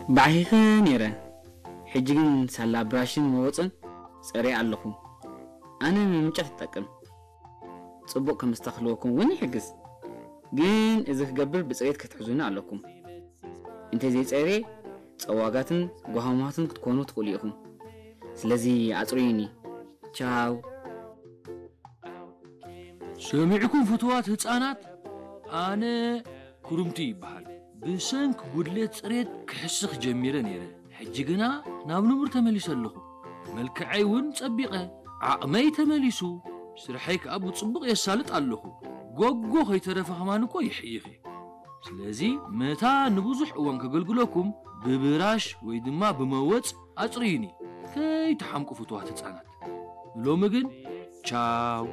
ባዕኺኸ ነይረ። ሕጂ ግን ሳላ ብራሽን መወፅን ፀርየ ኣለኹ። ኣነ ንምምንጫ ትጠቅም። ፅቡቕ ከም ኣስተኽልወኩም እውን ይሕግዝ። ግን እዚ ክገብር ብፅሬት ክትሕዙኒ ኣለኩም። እንተዘይፀርየ ፀዋጋትን ጓሃማትን ክትኮኑ ትኽእሉ ኢኹም። ስለዚ ኣፅርዩኒ። ቻው። ሰሚዕኩም ፍትዋት ህፃናት፣ ኣነ ኩርምቲ ይበሃል። ብሰንኪ ጉድለት ፅሬት ክሕስኽ ጀሚረ ነይረ። ሕጂ ግና ናብ ንቡር ተመሊሰ ኣለኹ። መልክዐይ እውን ጸቢቐ፣ ዓቕመይ ተመሊሱ፣ ስርሐይ ከኣ ብጽቡቕ የሳልጥ ኣለኹ። ጎጎ ከይተረፈ ከማን እኮ ይሕይኽ እየ። ስለዚ መታ ንብዙሕ እዋን ከገልግለኩም ብብራሽ ወይ ድማ ብመወጽ ኣጽርዩኒ። ከይትሓምቁ ፍቱዋት ህጻናት። ሎሚ ግን ቻው።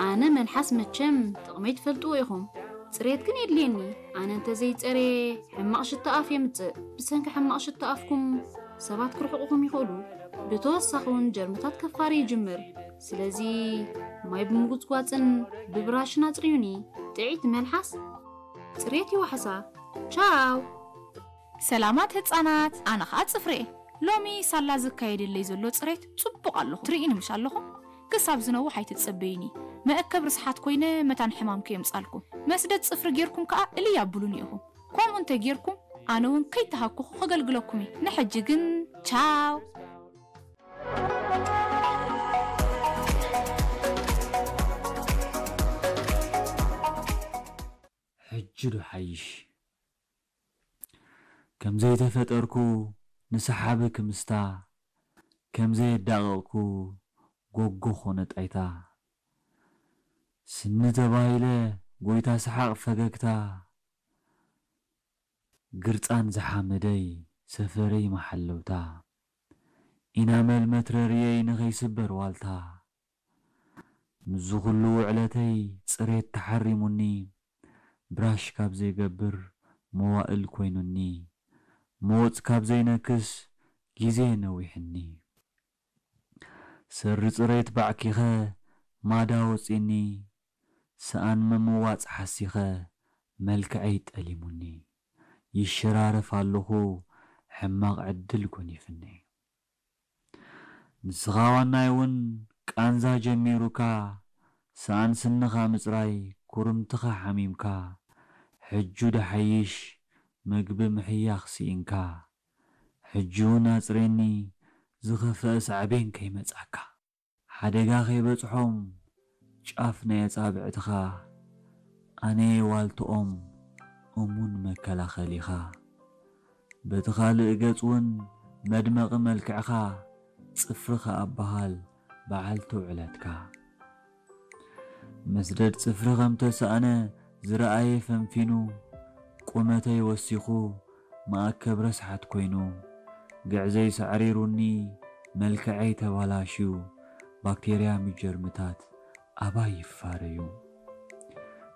ኣነ መልሓስ መቸም ጥቕመይ ትፈልጥዎ ኢኹም። ጽሬት ግን የድልየኒ። ኣነ እንተዘይጸርየ ሕማቕ ሽታ ኣፍ የምጽእ። ብሰንኪ ሕማቕ ሽታ ኣፍኩም ሰባት ክርሕቑኹም ይኽእሉ። ብተወሳኺ እውን ጀርምታት ከፋሪ ይጅምር። ስለዚ ማይ ብምጉጽጓጽን ብብራሽን ኣጽርዩኒ። ጥዕይቲ መልሓስ ጽሬት ይዋሕሳ። ቻው። ሰላማት ህጻናት፣ ኣነ ኸኣ ጽፍሬ። ሎሚ ሳላ ዝካየደለይ ዘሎ ጽሬት ጽቡቕ ኣለኹ። ትርእይኒ ምሽ ኣለኹም? ክሳብ ዝነውሕ ኣይትጸበዩኒ። መእከብ ርስሓት ኮይነ መታን ሕማም ከየምጻልኩም። መስደድ ጽፍሪ ጌርኩም ከኣ እልይ ኣብሉኒ ኢኹም። ከምኡ እንተ ጌርኩም ኣነ እውን ከይተሃኩኹ ከገልግለኩም እየ። ንሕጂ ግን ቻው። ሕጂ ዶ ሓይሽ? ከም ዘይተፈጠርኩ ንሰሓቢ ክምስታ፣ ከም ዘየዳቐቕኩ ጎጎ ኾነ ጣይታ። ስኒ ተባሂለ ጎይታ ሰሓቕ ፈገግታ፣ ግርጻን ዝሓመደይ ሰፈረይ መሓለውታ፣ ኢናመል መትረርየይ ንኸይስበር ዋልታ። ምስዚ ኹሉ ውዕለተይ ጽሬት ተሓሪሙኒ፣ ብራሽ ካብ ዘይገብር መዋእል ኮይኑኒ፣ መወጽ ካብ ዘይነክስ ግዜ ነዊሕኒ። ሰሪ ጽሬት ባዕኪኸ ማዳ ወጺኒ፣ ሰኣን ምምዋጽ ሓሲኸ መልክዐይ ጠሊሙኒ። ይሸራረፍ ኣለኹ ሕማቕ ዕድል ጎኒፍኒ። ንስኻ ዋናይ እውን ቃንዛ ጀሚሩካ፣ ሰኣን ስንኻ ምጽራይ ኩርምትኻ ሓሚምካ፣ ሕጁ ደሓይሽ መግቢ ምሕያኽ ስኢንካ፣ ሕጂ እውን ኣጽሬኒ ዝኸፍአ ሳዕቤን ከይመጽኣካ። ሓደጋ ከይበጽሖም ጫፍ ናይ ኣጻብዕትኻ ኣነየ ዋልትኦም እሙን መከላኸሊኻ። በቲ ካልእ ገጽ እውን መድመቒ መልክዕኻ ጽፍርኻ ኣበሃል በዓል ተውዕለትካ። መስደድ ጽፍሪ ከም ተሳእነ ዝረኣየ ፈንፊኑ፣ ቁመተይ ወሲኹ መኣከብ ረስሓት ኮይኑ፣ ግዕዘይ ሳዕሪሩኒ መልክዐይ ተባላሽዩ፣ ባክቴርያ ምጀርምታት ኣባይ ይፋረዩ።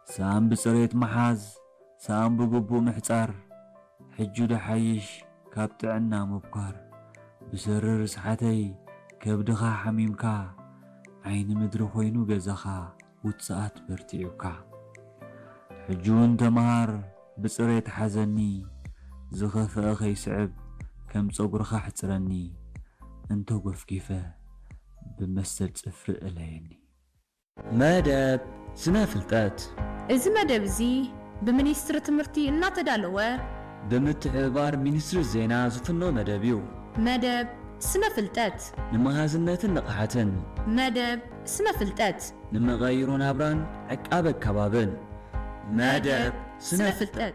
ሰኣን ብጽሬት ምሓዝ፣ ሰኣን ብግቡእ ምሕጻር፣ ሕጂ ደሓይሽ ካብ ጥዕና ምብኳር። ብሰሪ ርስሓተይ ከብድኻ ሓሚምካ፣ ዓይኒ ምድሪ ኮይኑ ገዛኻ ውጽኣት በርቲዑካ። ሕጂ እውን ተመሃር ብጽሬት ሓዘኒ፣ ዝኸፍአ ከይስዕብ ከም ጸጉርኻ ሕጽረኒ፣ እንተጎፍጊፈ ብመሰል ጽፍሪ እለየኒ። መደብ ስነ ፍልጠት። እዚ መደብ እዚ ብሚኒስትሪ ትምህርቲ እናተዳለወ ብምትሕብባር ሚኒስትሪ ዜና ዝፍኖ መደብ እዩ። መደብ ስነ ፍልጠት። ንመሃዝነትን ንቕሓትን። መደብ ስነ ፍልጠት። ንመቐይሮ ናብራን ዕቃበ ከባብን። መደብ ስነ ፍልጠት።